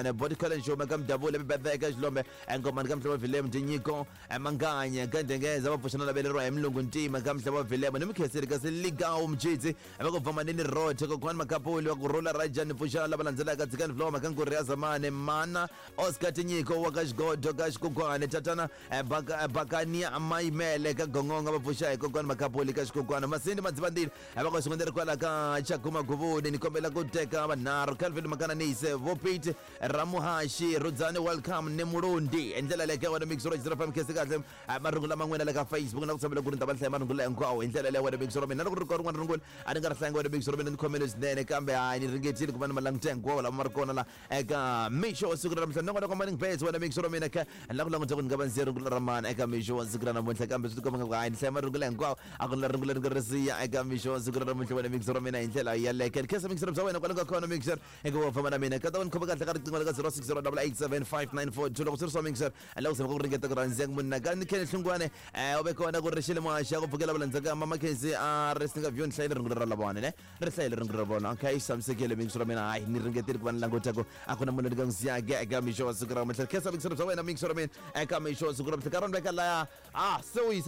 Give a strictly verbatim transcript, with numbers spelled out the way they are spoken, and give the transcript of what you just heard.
Body College Show ka Mdavula bibethe ka Xilombe engomani ka Mhlobo Vilemu Tinyiko Manganya ka Ndengeza va pfuxana laveleriwa hi Mulungu Ntima ka Mhlobo Vilemu ni Mukhenseri ka Siligawu Mjitsi va ku bvamanini Roche kokwani Makapuli wa ku rhula Rajani pfuxana lava landzelaka Tsikani Floma ka Nkuri ya Zamani Mana Oscar Tinyiko wa ka Xigodo ka Xikukwane Tatana Bakania Mayimele ka Gongonga va pfuxa hi kokwani Makapuli ka Xikukwana Masindi Madzivandile va ku xikonderi kwala ka Chakuma Guvuni ni kombela ku teka vanharhu Calvin Makananise Vopiti Ramuhashi Rudzani welcome ni Mulundi hi ndlela leyi ka wena mix ro zero five khesi kahle marungu lama n'wina le ka Facebook na ku tshembela ku ri ni ta va ni hlaya marungu hinkwawo hi ndlela leyi wena mix ro mina loko ri kona rin'wana rungula a ni nga ri hlayanga wena mix ro mina ni khomele swinene kambe hayi ni ringetile ku va ni ma languta hinkwawo lama ma ri kona la eka mixo wa siku ra namuntlha nongonoko morning base wena mix ro mina kha ni la ku languta ku ni nga va ndzi rungula ra mani eka mixo wa siku ra namuntlha kambe swi tikomba nga ku hayi ni hlaya marungula hinkwawo a ku na rungula ri nga ri siya eka mixo wa siku ra namuntlha wena mix ro mina hi ndlela yaleyo ni khensa mix ro bya wena kwale nga kona mix eka wa famba na mina ka ta va ni khoma kahle ka riqingho le ka zero six zero double eight seven five nine four two loko swi ri swa mixer la ku zama ku ringeta ku rhandza munhu ka ni khene hlungwane um u ve kona ku ri xile muhaxa ku pfukela valandzaka mama Khensi a ri singa vyo ni hlayile rungula ra la vona ne ri hlayile rungula ra vona okay xamisekile mixer ra mina hayi ni ringetile ku va ni languta ku a ku na munhu ni nga n'wi siyaka eka mixo wa siku ra namuntlha khensa mixer bya wena mixer ra mina eka mixo wa siku ra namuntlha ka rona veka laya ah se u yisa